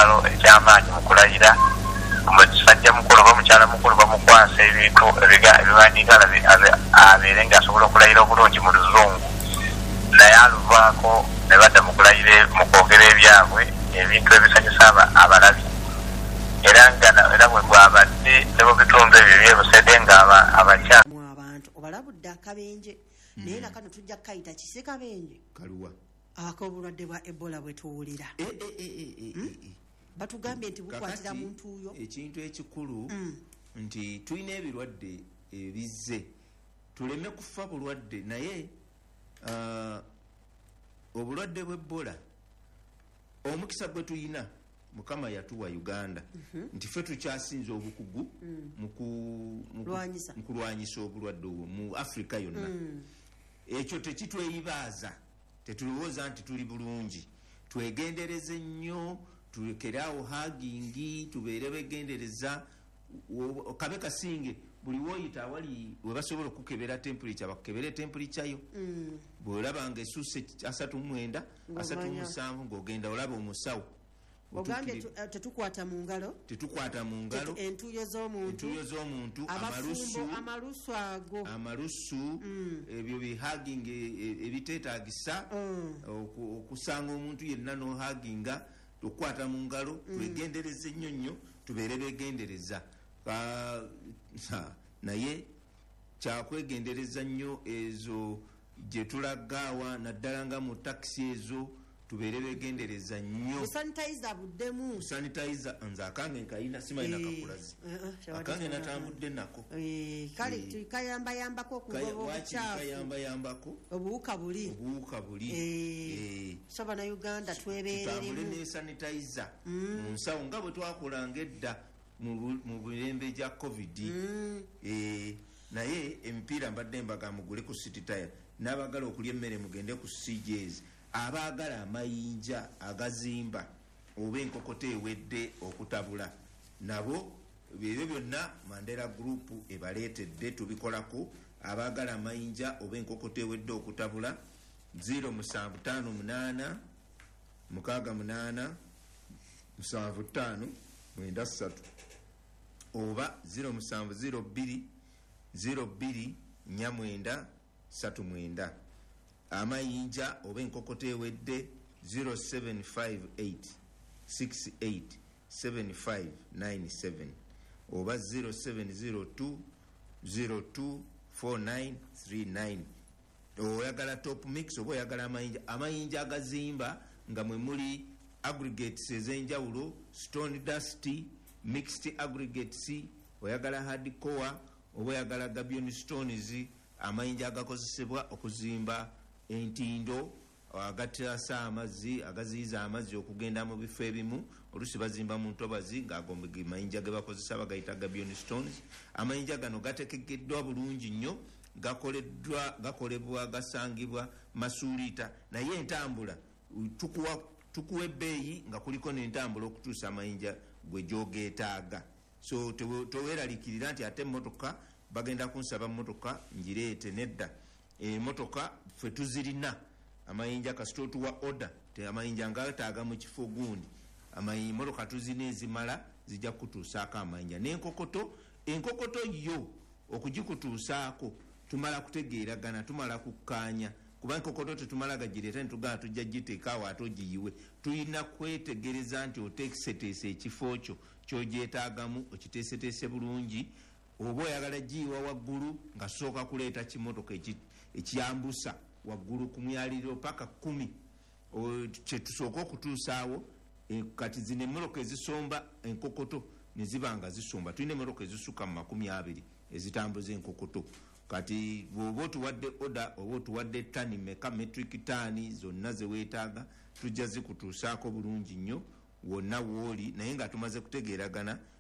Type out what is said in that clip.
Ekyalo ekyamaanyi mu kulayira, omusajja mukulu oba omukyala mukulu bamukwasa ebintu ebiwandiika abeere ng'asobola okulayira obulungi mu Luzungu, naye aluvaako ne badda mu kulayira, mu kwogera ebyabwe, ebintu ebisanyusa abalabi. Era nga era bwe gwabadde ne mu bitundu ebyo eby'e Busede nga abakyala Mu abantu obalabudde akabenje, naye nakano tujja kukayita kise kabenje. Kaluwa? Ak'obulwadde bwa Ebola bwe tuwulira. E, e, e, e, e, e, e. Batugambye nti bukwatira Kakati, mu ntuuyo. Ekintu ekikulu nti tulina ebirwadde ebizze, tuleme kufa bulwadde, naye obulwadde bw'Ebola, omukisa gwe tuyina, Mukama yatuwa Uganda nti ffe tukyasinza obukugu Lwanyisa. mu kulwanyisa obulwadde obwo mu Africa yonna. Ekyo tekitweyibaaza, tetulowooza nti tuli bulungi. Twegendereze nnyo, tulekeraawo hugging, tubeere begendereza. Kabe kasinge buli woyita awali webasobola okukebera temperature, bakukebere temperature yo. Bwolaba nga esuuse 39, 37, ng'ogenda olaba omusawo. Ogambye tetukwata mu ngalo. Tetukwata mu ngalo. Entuuyo z'omuntu. Entuuyo z'omuntu. Abafumbo. Amalusu. Amalusu ago. Amalusu, ebyo bihugging ebiteetagisa, okusanga omuntu yenna nohugginga, okukwata mu ngalo. Twegendereze nnyo nnyo, tubeere begendereza. Naye kyakwegendereza nnyo ezo gye tulagaawa, naddala nga mu takisi ezo, tubeere begendereza nnyo. Busanitizer buddemu. Sanitizer, nze akange nkayina, simanyi nakakulazi. Akange natambudde nako. Kale kayambayambako okugoba Wakiri obukyafu. Kayambayambako. Obuwuka buli. Obuwuka buli. So Bannayuganda, tutambule twebereremu. Ne sanitizer mu nsawo nga bwe twakolanga edda mu mirembe gya COVID. Naye emipiira mbadde mbaga mugule ku City Tire, n'abagala okulya emmere mugende ku CJs, abaagala amayinja agazimba oba enkokoto ewedde okutabula, nabo ebyo byonna Mandela Group ebaleetedde, tubikolako. Abaagala amayinja oba enkokoto ewedde okutabula, 0758 68 75 93 oba 0702 02 49 39. Amayinja oba enkokoto ewedde, 0758 68 7597 oba 0702 02 4939. Oyagala top mix oba oyagala amayinja agazimba nga mwe muli aggregates ez'enjawulo, stone dust, mixed aggregates, oyagala hardcore oba oyagala gabion stones, amayinja agakozesebwa okuzimba entindo, agatasa amazzi, agaziyiza amazzi okugenda mu bifo ebimu, oluusi bazimba mu ntobazi, ngaago mayinja ge bakozesa bagayita gabion stones. Amayinja gano gategekeddwa bulungi nnyo, gakoleddwa, gakolebwa, gasangibwa Masuliita, naye entambula tukuwa ebbeeyi nga kuliko n'entambula okutuusa amayinja gwe gyogeetaaga. So toweeralikirira nti ate emmotoka bagenda kunsaba mmotoka ngireete, nedda, emotoka ffe tuzirina. Amayinja kasita otuwa order, amayinja ngataaga mu kifo gundi, emotoka tuzina ezimala, zijja kutuusaako amayinja n'enkokoto. Enkokoto yo okugikutuusaako tumala kutegeeragana, tumala kukkaanya, kuba enkokoto tetumala gagireeta netugamba tujja giteekaawo ate ogiyiwe. Tulina kwetegereza nti oteeseteese ekifo kyo kyogyetaagamu, okiteeseteese bulungi, oba oyagala giyiwa waggulu nga sooka kuleeta kimotoka ekyambusa waggulu ku myaliriro paka 10, kyetusooka okutuusaawo. Kati zino emmotoka ezisomba enkokoto neziba nga zisomba, tulina emmotoka ezisuka mu 20 ezitambuza enkokoto. Kati bw'oba otuwadde order oba otuwadde tani meka, metric tani zonna zeweetaaga, tujja zikutuusaako bulungi nnyo wonna wooli, naye nga tumaze kutegeeragana.